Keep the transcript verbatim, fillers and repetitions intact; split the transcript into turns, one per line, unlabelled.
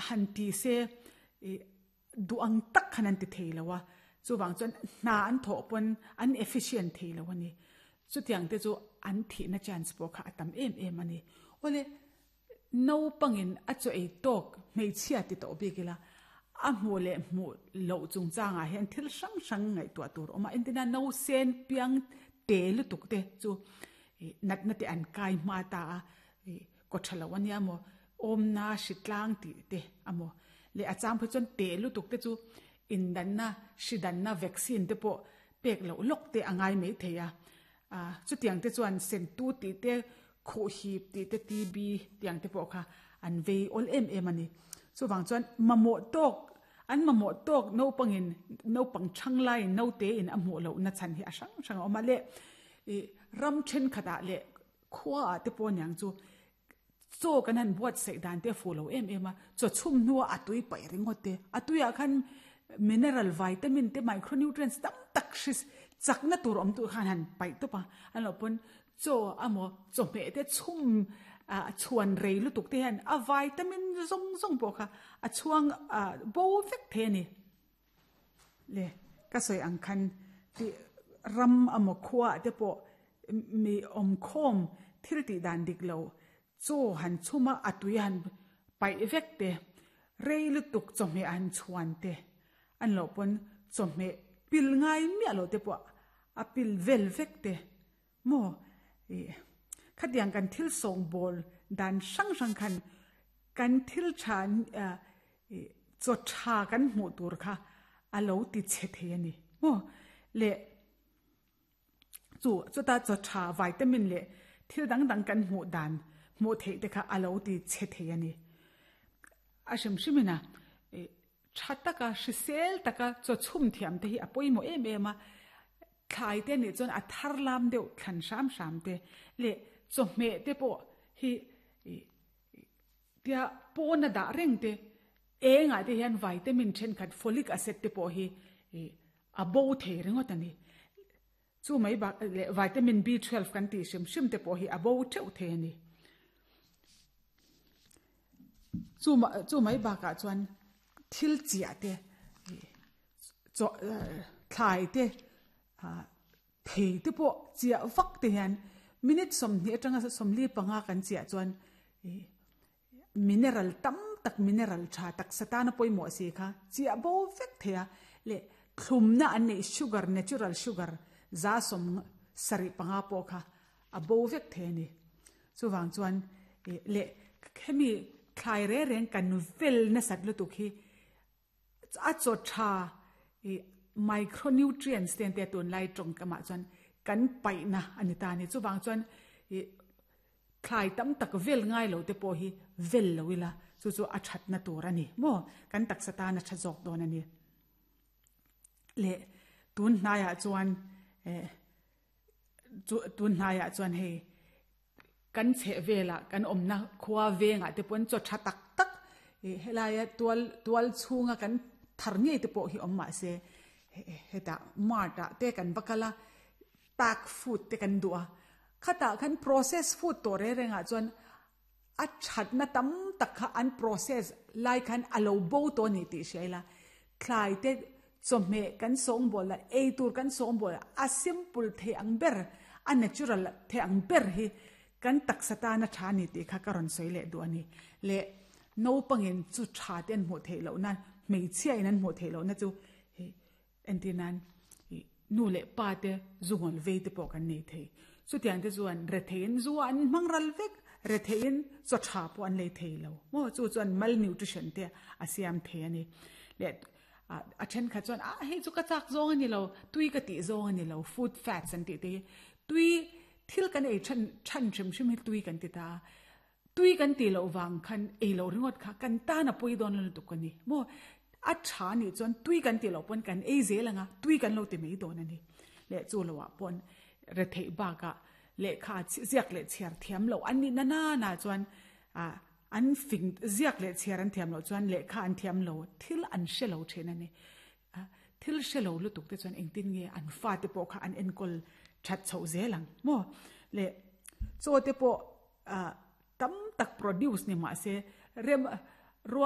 han ti se du ang tak khan an ti thei lo a chuwang chuan hna an thaw pawn an efficient thei lo ani chutiang te chu an thi na chance pawh kha atam em em ani ole no pangin a chu ei tok hmeichhia ti to bikila a hmu le hmu lo chung changa hian thil hrang hrang ngai tua tur oma entina no sen piang te lutuk te chu nat na te an kai ma ta a ko thalo ania mo om na shitlang ti te amo le achang phe chon te lutuk te chu indan na shidan na vaccine te po pek lo lok te angai mai theia a chutiang te chuan sen tu ti te kho hip ti te tb tiang te po kha an vei ol em em ani chuwang chuan mamo tok an mamo tok no pangin no pang chang lai no te in a mu lo na chan hi a sang sang oma le e ram then khata le khwa te po nyang chu cho kan han buat sei dan te fu lo em em a cho chum nuwa atui pai ringote atuya khan mineral vitamin te micronutrients tam tak shis chakna tur om tu khan han pai to pa an lo pon cho amo cho me te chum a chuan rei lu tuk te han a vitamin zong zong po kha a chuang a bo vek the ni le ka soi ang khan ti ram amo khwa te po mi om khom thil ti dan dik lo cho han chuma atui han pai vek te rei lu tuk cho me an chuan te an lo pon cho me pil ngai mi alo te po a pil vel vek te mo e khatiang kan thil song bol dan sang sang khan kan thil chan cho tha kan mu tur kha alo ti che the ani mo le chu chu ta cho tha vitamin le thil dang dang kan mu dan mu the te kha alo ti che the ani a shim shimina e thataka shisel taka cho chum thiam te hi apoi mo em em a thlai te ni chon a thar lam deuh thlan sam sam te le cho me te po hi tia pona da reng te enga te hian vitamin then khat folic acid te po hi a bo the ringot ani chu mai ba le vitamin B twelve kan ti sim sim te po hi a bo theu the ani chu ma chu mai ba ka chuan thil chia te cho thlai te a thei te po chia vak te hian minute som ni atanga som li panga kan chia chuan mineral tam tak mineral tha tak satana poimo si kha chia bo vek thea le thlumna an nei sugar natural sugar za som sari panga po kha a bo vek the ni chuwang chuan le khemi thlai re reng kan vel na sat lu tu khi a cho tha micronutrients ten te tun lai tong kama chuan kan pai na ani ta ni chuwang chuan thlai tam tak vel ngai lo te po hi vel lo ila chu chu a that na tur ani mo kan tak sata na tha jok don ani le tun hnaya chuan e chu tun hnaya chuan hei kan che vela kan omna khwa venga te pon cho tha tak tak e helaya tual tual chunga kan thar nge te po hi omma se heta marta te kan bakala pack food te kan duwa khata kan process food to re renga chuan a that na tam tak kha an process lai khan alo bo to ni ti shela thlai te chome kan song bol la ei tur kan song bol a simple the ang ber a natural the ang ber hi kan taksata na tha ni ti kha karon soile du ani le no pangin chu tha ten mu the lo na mei chia in an mu the lo na chu he entinan nu le pa te zungol ve te po kan nei thei chu tiang te chuan re thein zu an mangral vek re thein cho tha po an lei thei lo mo chu chuan malnutrition te a siam the ani le a then kha chuan a hei chu ka chak zong ani lo tui ka ti zong ani lo food fats an ti te tui thil kan ei than than chim chim hi tui kan ti ta tui kan ti lo wang khan ei lo ringot kha kan ta na pui don lo tu kan ni mo a tha ni chuan tui kan ti lo pon kan ei zelanga tui kan lo ti mei don ani le chu lo wa pon re thei ba ka le kha ziak le chiar thiam lo an ni na na na chuan a an fing ziak le chiar an thiam lo chuan le kha an thiam lo thil an she lo then ani thil she lo lu tuk te chuan engtin nge an fa te po kha an enkol that chho zelang mo le cho te po a tam tak produce ni ma se rem